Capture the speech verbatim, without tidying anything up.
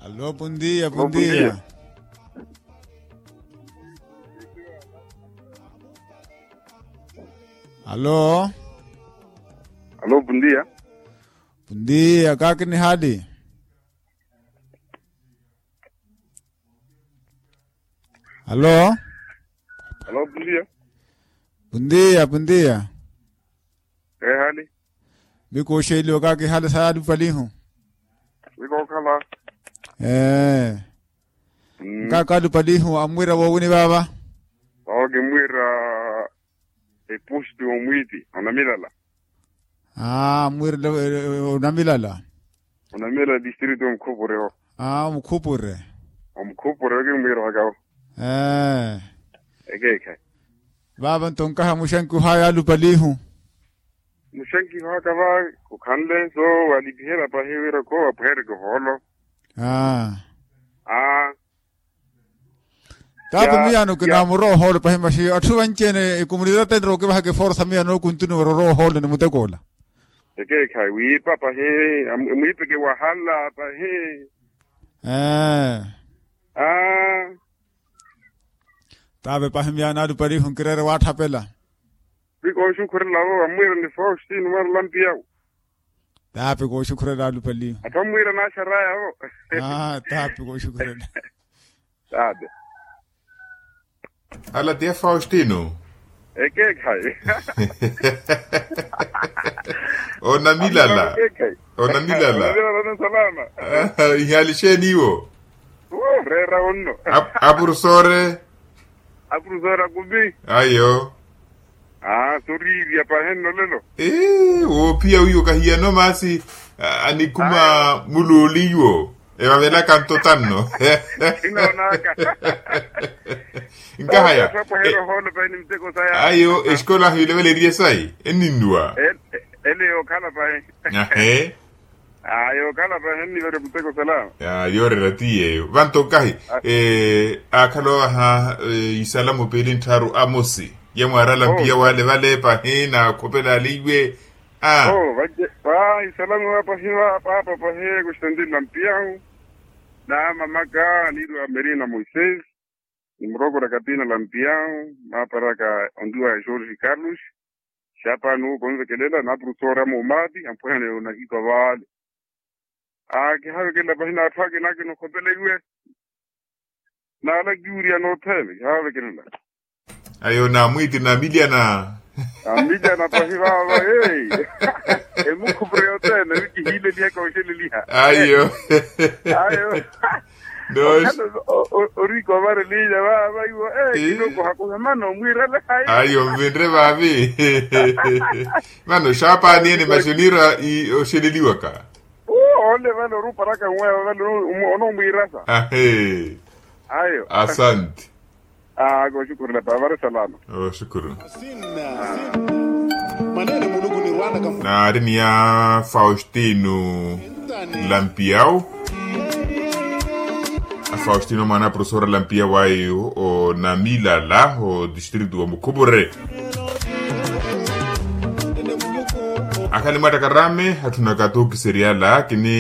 Alo, pundiya, pundiya. Alo, pundiya. Pundiya, kaakini hali? Alo. Alo, pundiya. Pundiya, pundiya. Ehali. Mikooxeliwa kaakihali sa yalupalihu. Mikookhala. Ee. Nkaakalupalihu amwira woowini vaava? Vaava kimwira. Epusti omwiiti onamilala. Aa mwirila onamilala. Onamilala distrito omukhupure. Aa omukhupure. Omukhupure okimwira ohakawo. Ee. Ekeekhayi. Vaava nto nkaha muxankiho aya alupalihu. Muxankiho aka va kukhanle nso walipiherya pahi wira kho wapwehereke ohoolo. Aa. Aa. Taapi miyaano kinaamura ohoolo pahi maxi atthu vanci-ene ekomunidade enrowa okivahaka eforsa miyaano kuntu niwera orowa ohoolo ni mutekoola. Ekeekhayi wiipa pahi. Mwiipeke wahala pahi. Ee. Aa. Taapi pahi miyaano alupalihu nkireere waatthapela. Pi kooxukhurela vo vamwiira ni faustino mwaarula mpiyawo. Taapi kooxukhurela alupalihu. Atthu amwiira naaxaraya vo. Taapi kooxukhurela. Taapi. Ala ti a faustino. Ekeekhayi. Onamilala. Onamilala. Onamilala na salama. Ihali xeeni iwo? Reera onno. Apurusore. Apurusore akumi. Ayo. Aa soriirya pahi nno lelo. Ee woophiya wiiwo kahiyano maasi. Anikhuma muluuliwo evavelaka nto tanno. Nkahayayo. Exikola ahiileveleriye sayi enninnuwa. Ele yookhala pahi. Ahe. Aa yookhala pahi enniverya muteko salama. Yooreera ti yeeyo vanto nkahi. Aakhala ovaha isalamu piili nttharu amosi ye mwaarala mpiya wale vale pahi naakhopela aliiwe. Aa. Isalamu va pahi va paapa pahi kustantini lampiyahu. Na mamaka niiriwa merina moisés. Ni murokora katina lampiyahu maaparaka onduwa ya jorge carlos. Xapaani owo konvekelela naapurusora moomati ampwehane onahikwa vaale. Aa kihavekelela pahi n'atthu ake nake nokhopela iwe. Naalakiwiriya nothene kihavekelela. Ayo naamwiiti naamilyana. Naamilyana pahi vaava. Emukhupure yothene wi kihiileliha kooxeleliha. Ayo. Ayo. Orikovarelinya vaava iwo. Kinokohakoha mana omwiirele hayi. Ayo mvinre vaavi. Vano xapaani ene maxi oniira oxeleliwaka. Ole vale oruparaka nweya vale. Onomwiirasa. Ahe. Ayo. Asante. Kooxukhurela paavare salama. Oxukuru. Naari ni ya faustino lampiyau. Faustino mwaana profesora lampiyau ayo onamilala odistritu wa mukhupure. Akhali mwattakarame atthunaka tookiseryala kini